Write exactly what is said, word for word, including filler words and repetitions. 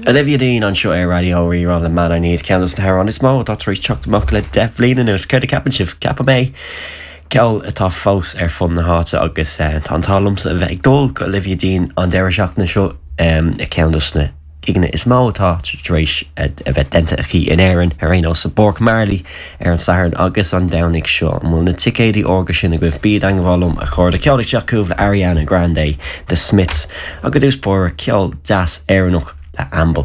Olivia Dean anseo ar Raidió Rí-Rá le Man I Need ceann de na hamhráin is mó atá tar éis teacht amach le deich mbliana anuas céard a cheapann sibh ceapaim é ceol atá fós ar fud na háite agus eh, tá an t-ádh liomsa a bheith ag dul go Olivia Dean an deireadh seachtaine seo um, a ceann de na gigeanna is mó atá tar éis a bheith déanta aici in Éirinn ar aon nós i bPáirc Marley ar an Satharn agus an Domhnach seo an bhfuil na ticéidí órga sin agaibh bí i dteagmháil liom a chairde ceol ag teacht chugaibh le Ariana Grande The Smiths agus dús bóra ceol deas Éireannach le Amble.